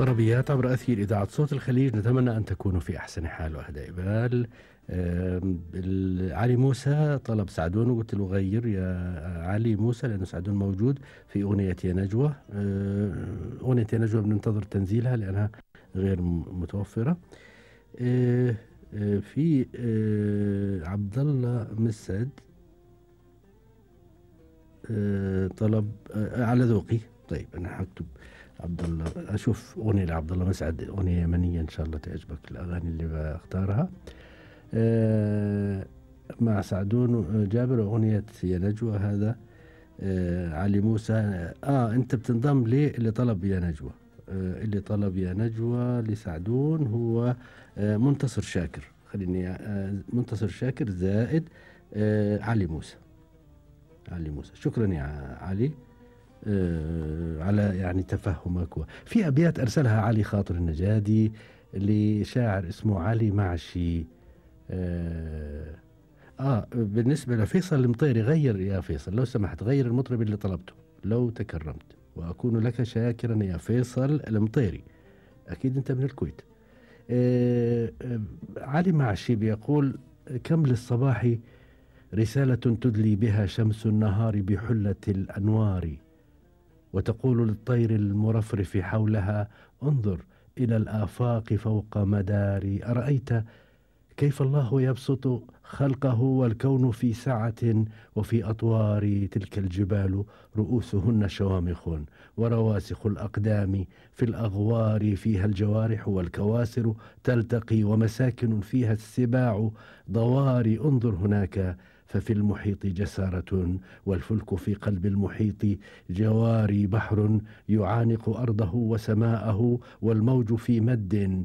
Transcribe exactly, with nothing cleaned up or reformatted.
طربيات عبر أثير إذاعة صوت الخليج، نتمنى أن تكونوا في أحسن حال وأهدى بال. آم، ال- علي موسى طلب سعدون وقلت له غير يا علي موسى لأنه سعدون موجود في أغنية يا نجوى. آه، أغنية يا نجوى بننتظر تنزيلها لأنها غير م- متوفرة. آه، آه، في آه، عبد الله مسعد آه، طلب آه، على ذوقي. طيب أنا هكتب عبد الله، أشوف أغنية لعبد الله مسعد، أغنية يمنية إن شاء الله تعجبك الأغاني اللي بختارها. آه، مع سعدون جابر أغنية يا نجوى. هذا آه، علي موسى. آه أنت بتنضم لي اللي طلب يا نجوى. آه اللي طلب يا نجوى لسعدون هو آه منتصر شاكر. خليني آه منتصر شاكر زائد آه علي موسى. علي موسى شكرا يا علي آه على يعني تفهمك. في أبيات أرسلها علي خاطر النجادي لشاعر اسمه علي معشي. آه, آه بالنسبة لفيصل المطيري، غير يا فيصل لو سمحت، غير المطرب اللي طلبته لو تكرمت، وأكون لك شاكرا يا فيصل المطيري. أكيد أنت من الكويت. آه آه علي معشي بيقول: كم للصباح رسالة تدلي بها شمس النهار بحلة الأنوار، وتقول للطير المرفرف حولها: انظر إلى الآفاق فوق مداري. أرأيت كيف الله يبسط خلقه والكون في سعة، وفي أطوار تلك الجبال رؤوسهن شوامخ، ورواسخ الأقدام في الأغوار فيها الجوارح والكواسر تلتقي، ومساكن فيها السباع ضواري. انظر هناك ففي المحيط جسارة، والفلك في قلب المحيط جواري. بحر يعانق أرضه وسماءه، والموج في مد